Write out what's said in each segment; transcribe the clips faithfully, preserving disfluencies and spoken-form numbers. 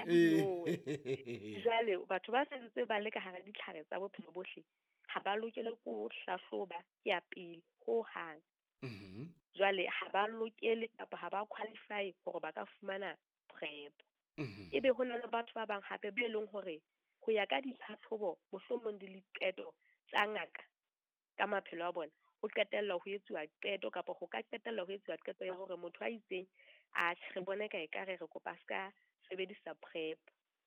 Ee. Nowe. Jwale batho ba sentse ba le ka hara ditlhare tsa bophelo bohle ha ba lokele ko hlahloba ke ya pele ho hang. Mhm. Jwale ha ba lokele kapa ha ba qualify hore ba ka fumana PrEP. Mhm. Ebe ho na le batho ba bang hape be leng hore ho ya ka ditlhatlhobo mohlomong le diqeto tsa ngaka ka maphelo a bona, ho qetella ho etsuwa qeto kapa ho ka qetella ho etsuwa qeto ya hore motho a itseng atjhe re bone ka ekare re kopa a ska sebedisa PrEP.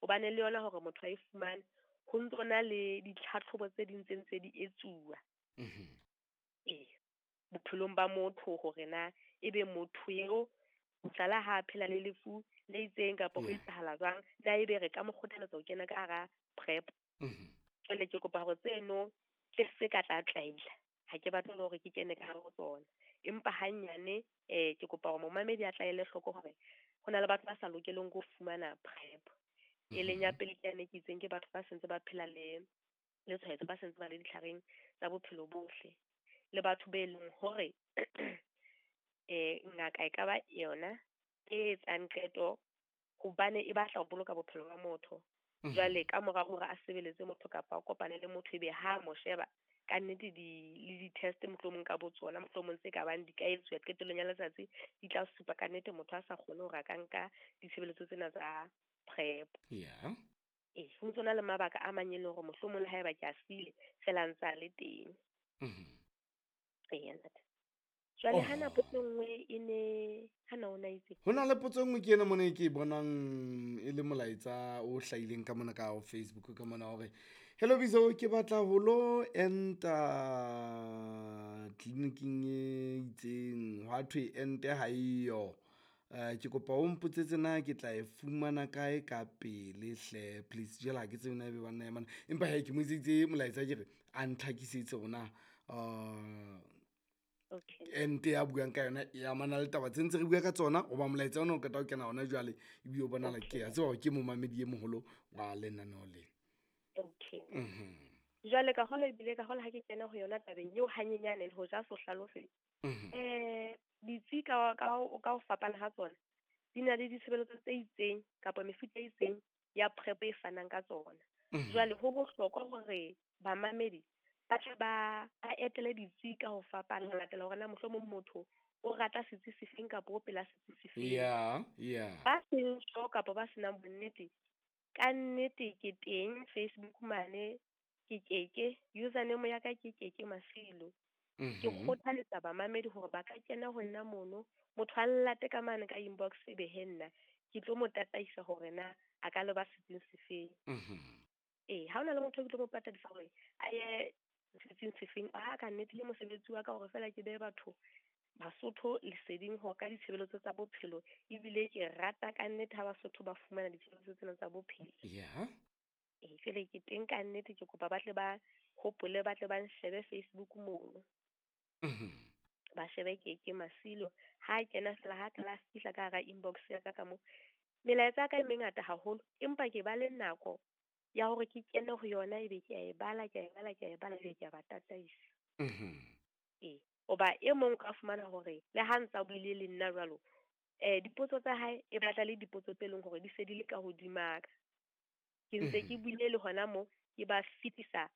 Hobane le yona hore motho a e fumane ho ntso na le ditlhatlhobo tse ding tse ntse di etsuwa. Mhm. Ee, bophelong ba motho hore na ebe motho eo mohlala ha a phela le lefu le itseng kapa ho Yeah. etsahala jwang, na ebe re ka mo kgothaletsa ho kena ka hara PrEP. Mhm. Jwale ke kopa hore tseno ke se ka tla tlaila. Ha ke batle le hore ke kene ka hare ho tsona. Empa hanyane eh ke kopa hore momamedi a tla ele hloko hore ho na le batho ba sa lokeleng ho fumana PrEP. E leng ya Mhm. pele ke yane ke itseng ke batho ba sentse ba phela le le tshwaetso, ba sentse ba le ditlhareng tsa bophelo bohle. Le batho be leng hore eh ngaka e ka ba yona e etsang qeto hobane e batla ho boloka bophelo ba motho. Mhm. Jwale ka mora hore a sebeletse motho kapa a kopane le motho ebe ha mo sheba ka nnete di le di-test mohlomong ka bo tsona mohlomong tse ka bang di ka etsuwa qetellong ya letsatsi di tla supa ka nnete motho a sa kgone hore a ka nka ditshebeletso tsena tsa PrEP. Yeah. Ee, ho ntso na le mabaka a mang e leng hore mohlomong le haeba ke a siile feela a ntse a le teng. Mhm. Eya ntate. Jwale hana Oh. potso e nngwe e ne hana o na itse. Ho na le potso e nngwe ke ena mona e ke e bonang e le molaetsa o hlahileng ka mona ka ho Facebook ka mona hore hello Bizo, ke batla ho lo enta tleliniking e itseng hwa thwe ente ha eyo. Eh ke kopa o mpotsetse na ke tla e fumana kae ka pele hle please. Jwale ha ke tsebe na ebe banna ya mana, empa hee ke mo etseditse molaetsa ke re a ntlhakisetse hore na uh Okay. ente ya buang ka yona e amana le taba tse ntse re bua ka tsona hoba molaetsa ona o qeta ho kena hona jwale ebile o bonahala ke a tseba hore ke momamedi e moholo wa lenaneo lena. Okay. Mhm. Jwale ka hola ebile ka hola ha ke kena ho yona tabeng eo hanyenyane le ho ja so hlalose. Mhm. Eh ditsi ka ka ka ho fapana ha tsona di na le ditshebeletso tse itseng kapa mefuta e itseng ya PrEP e fanang ka tsona. Mhm. Jwale ho bohlokwa hore bamamedi ba tle ba ba etele ditsi ka ho fapana ho latela hore na mohlomong motho o rata setsi sefeng kapa o pela setsi sefeng. Yeah, yeah. Ba seng sure kapa ba senang bonnete, ka nnete ke teng Facebook mane ke Keke, username ya ka ke Keke Masilo. Ke Mhm. kgothaletsa bamamedi hore ba ka kena ho nna mono, motho a nlate ka mane ka inbox ebe he nna ke tlo mo tataisa hore na a ka leba setsing sefeng. Mhm. Ee, ha hona le motho e ke tlo mo patadisa hore a ye setsing sefeng, a ka nnete ke mosebetsi wa ka hore feela ke behe batho Basotho leseding hore ka ditshebeletso tsa bophelo, ebile ke rata ka nnete ha Basotho ba fumana ditshebeletso tsena tsa bophelo. Yeah. Ee, jwale ke teng ka nnete ke kopa ba tle ba hopole ba tle ba nshebe Facebook mono. Mhm. Ba shebe Keke Masilo. Ha kena feela ha qala a fihla ka hara inbox ya ka ka mo. Melaetsa ya ka e mengata haholo, empa ke ba le nako ya hore ke kene ho yona ebe ke a e bala, ke a e bala, ke a e bala, ebe ke a ba tataisa. Mhm. Ee, hoba e mong o ka fumana hore le ha ntsa buile le nna jwalo, eh dipotso tsa hae e batla le dipotso tse leng hore di se di le ka hodima ka. Ke ntse ke Mhm. buile le hona moo ke ba fetisa,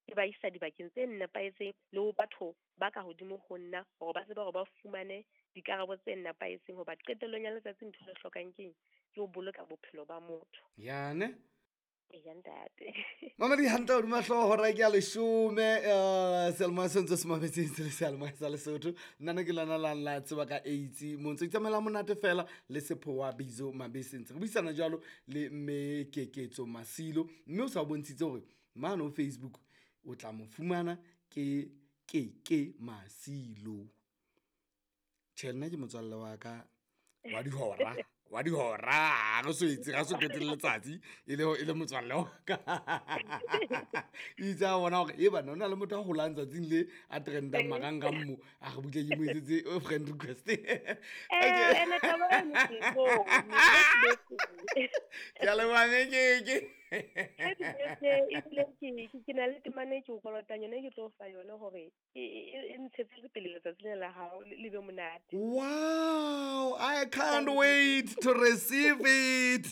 ke ba isa dibakeng tse nepahetseng le ho batho ba ka hodimo ho nna hore ba tsebe hore ba fumane dikarabo tse nepahetseng. Hoba qetellong ya letsatsi ntho e re hlokang keng, ke ho boloka bophelo ba motho. Yane. Eya ntate. Mamedi hantle hodima hlooho hora ke ya leshome, eh seyalemoya se ntse se mametseng se le seyalemoya sa Lesotho. Nna ne ke lona la la tseba ka AIDS mo ntse itsamaela monate fela le Sephowa Bizo Mabese. Ntse re buisana jwalo le mme Keketso Masilo, mme o sa bontshitse hore mane ho Facebook o tla mo fumana ke Keke Masilo. Tjhe, nna ke motswalle wa ka wa dihora, wa dihora, re so etse, ra so qete le letsatsi e le e le motswalle wa ka. Itse a bona hore e bana hona le motho a holang tsatsing le a trendang marangrang mo, a re butle ke mo etsetse friend request. Eh, Okay. ene taba eno ke e bone, Ke a leboha mme Keke. Happy birthday, ebile ke ke ke na le temana e ke o kolotang yona, e ke tlo o fa yona hore e e e ntshetse pele letsatsi lena la hao le be monate. Wow, I can't wait to receive it.